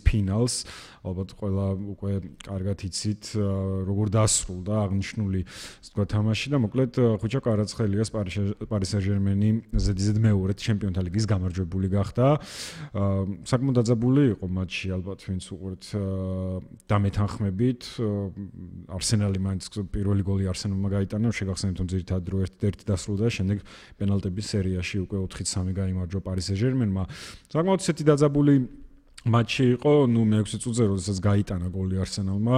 ფინალს. ალბათ ყველა უკვე კარგად იცით როგორ დასრულდა აღნიშნული თამაში და მოკლედ ხუჭა კვარაცხელიას პარი სენ-ჟერმენი ზედიზედ მეორედ ჩემპიონთა ლიგის გამარჯვებული გახდა. საკმაოდ დაძაბული იყო მატჩი ალბათ ვინც უყურეთ დამეთანხმებით. არსენალი მაინც პირველი გოლი არსენალმა გაიტანა, შეგახსენებთ რომ ძირითადად დრო 1-1 დასრულდა, შემდეგ პენალტების სერიაში უკვე 4-3 გაიმარჯვა პარი სენ-ჟერმენმა. საკმაოდ ისეთი დაძაბული მატჩი იყო, მე 6 წუთზე როდესაც გაიტანა გოლი არსენალმა,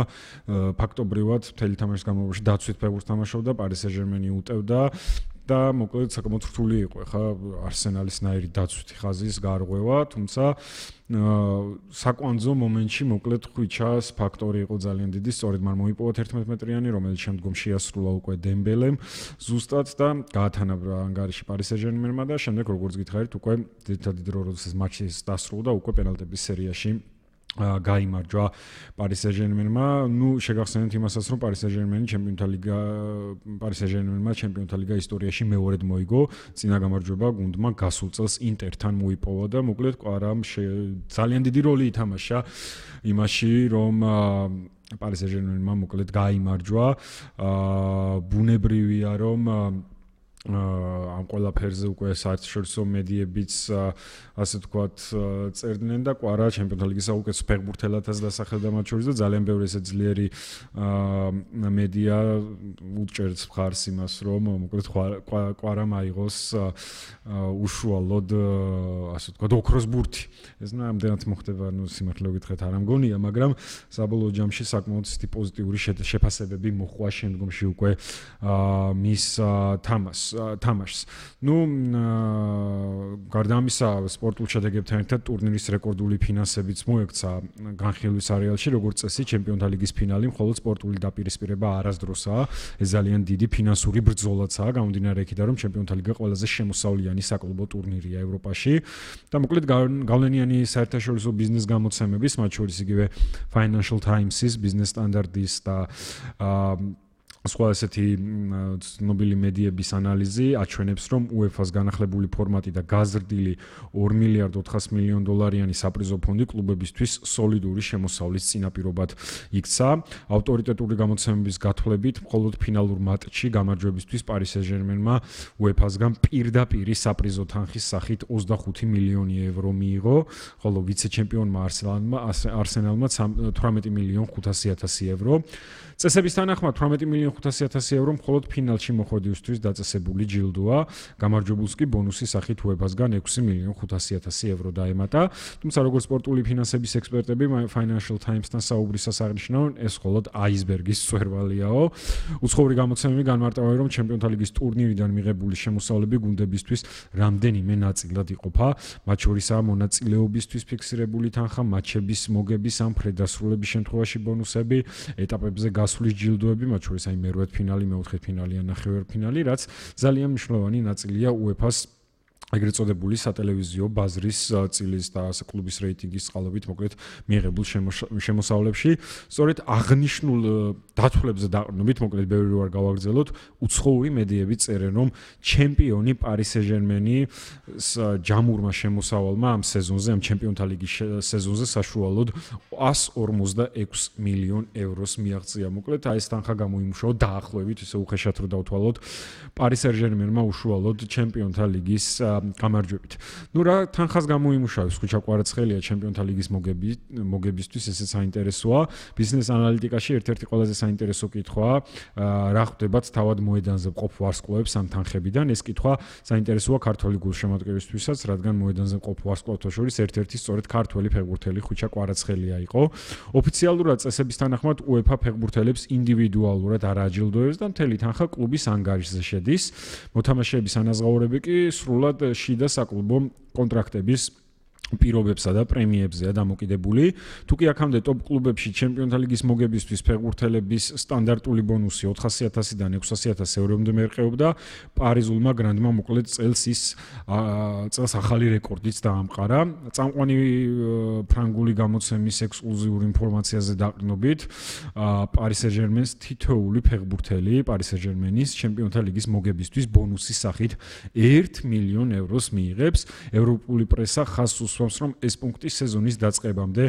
ფაქტობრივად მთელი თამაშის განმავლობაში დაცვით ფეხბურთს თამაშობდა, პარი სენ-ჟერმენი უტევდა და მოკლედ საკმაოდ რთული იყო ხა არსენალისნაირი დაცვითი ხაზის გარღვევა, თუმცა საკვანძო მომენტში მოკლედ ხვიჩას ფაქტორი იყო ძალიან დიდი, სწორედ მან მოიპოვა 11 მეტრიანი, რომელიც შემდგომ შეასრულა უკვე დემბელემ ზუსტად და გაათანაბრა ანგარიში პარი სენ-ჟერმენმა და შემდეგ როგორც გითხარით უკვე დიდი დრო როდესაც მატჩი დასრულდა უკვე პენალტების სერიაში გაიმარჯვა პარი სენ-ჟერმენმა. შეგახსენებთ იმასაც, რომ პარი სენ-ჟერმენი პარი სენ-ჟერმენმა ჩემპიონთა ლიგა ისტორიაში მეორედ მოიგო. წინა გამარჯვება გუნდმა გასულ წელს ინტერთან მოიპოვა და მოკლედ კვარამ ძალიან დიდი როლი ითამაშა იმაში, რომ პარი სენ-ჟერმენმა მოკლედ გაიმარჯვა. ბუნებრივია, რომ ამ ყველაფერზე უკვე საერთაშორისო მედიებიც ასე ვთქვათ წერდნენ და კვარა ჩემპიონთა ლიგის საუკეთესო ფეხბურთელადაც დასახელდა მათ შორის და ძალიან ბევრი ესე ძლიერი მედია უჭერს მხარს იმას, რომ მოკლედ კვარამ აიღოს უშუალოდ ასე ვთქვათ ოქროს ბურთი. ეს ნამდვილად მოხდება, სიმართლე გითხრათ არ ამგონია, მაგრამ საბოლოო ჯამში საკმაოდ პოზიტიური შეფასებები მოჰყვა შემდგომში უკვე მის თამაშს. გარდა ამისა, სპორტულ შედეგებთან ერთად ტურნირის რეკორდული ფინანსებიც მოექცა განხილვის არეალში, როგორც წესი, ჩემპიონთა ლიგის ფინალი მხოლოდ სპორტული დაპირისპირება არასდროსაა. ეს ძალიან დიდი ფინანსური ბრძოლაცაა, გამომდინარე იქიდან, რომ ჩემპიონთა ლიგა ყველაზე შემოსავლიანი საკლუბო ტურნირია ევროპაში და მოკლედ გავლენიანი საერთაშორისო ბიზნეს გამოცემების, მათ შორის იგივე Financial Times-ის, Business Standard-ის და სხვა ესეთი ცნობილი მედიების ანალიზი აჩვენებს, რომ UEFA-ს განახლებული ფორმატი და გაზრდილი 2 მილიარდ 400 მილიონ დოლარიანი საპრიზო ფონდი კლუბებისთვის სოლიდური შემოსავლის წინაპირობად იქცა. ავტორიტეტული გამოცემების გათვლებით, მხოლოდ ფინალურ მატჩში გამარჯვებისთვის პარი სენ-ჟერმენმა UEFA-სგან პირდაპირ საპრიზო თანხის სახით 25 მილიონი ევრო მიიღო, ხოლო ვიცე-ჩემპიონმა არსენალმა 18 მილიონ 500.000 ევრო. წესების თანახმად 18 მილიონ 500.000 ევრო მხოლოდ ფინალში მოხვედრისთვის დაწესებული ჯილდოა. გამარჯვებულს კი ბონუსის სახით UEFA-სგან 6 მილიონ 500.000 ევრო დაემატა. თუმცა როგორც სპორტული ფინანსების ექსპერტები Financial Times-თან საუბრისას აღნიშნავენ, ეს მხოლოდ აისბერგის მწვერვალიაო. უცხოური გამოცემები განმარტავენ, რომ ჩემპიონთა ლიგის ტურნირიდან მიღებული შემოსავლები გუნდებისთვის რამდენიმე ნაწილად იყოფა. მათ შორისაა მონაწილეობისთვის ფიქსირებული თანხა, მატჩების მოგების ან ფრედასრულების შემთხვევაში ბონუსები, ეტაპებზე გასვლის ჯილდოები, მათ შორის აი მერვედფინალი, მეოთხედფინალი ან ნახევარფინალი, რაც ძალიან მნიშვნელოვანი ნაწილია UEFA-ს ეგრეთ წოდებული სატელევიზიო ბაზრის წილის და კლუბის რეიტინგის წყალობით მოკლედ მიიღებულ შემოსავლებში. სწორედ აღნიშნულ დათვლებზე დაყრდნობით, მოკლედ ბევრი არ გავაგრძელოთ, უცხოური მედიები წერენ, რომ ჩემპიონი პარი სენ-ჟერმენი ჯამურმა შემოსავალმა ამ სეზონზე, ამ ჩემპიონთა ლიგის სეზონზე საშუალოდ 146 მილიონ ევროს მიაღწია. მოკლედ აი ეს თანხა გამოიმუშავა დაახლოებით, ისე უხეშად რო დავთვალოთ, პარი სენ-ჟერმენმა უშუალოდ ჩემპიონთა ლიგის გამარჯვებით. რა თანხას გამოიმუშავებს ხუჭა კვარაცხელია ჩემპიონთა ლიგის მოგებისთვის, ესეც საინტერესოა. ბიზნეს ანალიტიკაში ერთ-ერთი ყველაზე საინტერესო კითხვაა, რა ხდებათ თავად მოედანზე მყოფ ვარსკვლავებს ამ თანხებიდან. ეს კითხვა საინტერესოა ქართველი გულშემატკივრისთვისაც, რადგან მოედანზე მყოფ ვარსკვლავთა შორის ერთ-ერთი სწორედ ქართველი ფეხბურთელი ხუჭა კვარაცხელია იყო. ოფიციალურად წესების თანახმად UEFA ფეხბურთელებს ინდივიდუალურად არ აჯილდოებს და მთელი თანხა კლუბის ანგარიშზე შედის. მოთამაშეების ანაზღაურები კი სრულად შიდა საკლუბო კონტრაქტების პირობებსა და პრემიებზეა დამოკიდებული. თუ კი აქამდე ტოპ კლუბებში ჩემპიონთა ლიგის მოგებისთვის ფეხბურთელების სტანდარტული ბონუსი 400.000-დან 600.000 ევრომდე მერყეობდა, პარიზულმა გრანდმა მოკლედ წელს ახალი რეკორდიც დაამყარა. წამყვანი ფრანგული გამოცემის ექსკლუზიური ინფორმაციაზე დაყრდნობით, პარი სენ-ჟერმენს თითოეული ფეხბურთელი პარი სენ-ჟერმენის ჩემპიონთა ლიგის მოგებისთვის ბონუსის სახით 1 მილიონ ევროს მიიღებს. ევროპული პრესა ხაზს უსვამს, რომ ეს პუნქტი სეზონის დაწყებამდე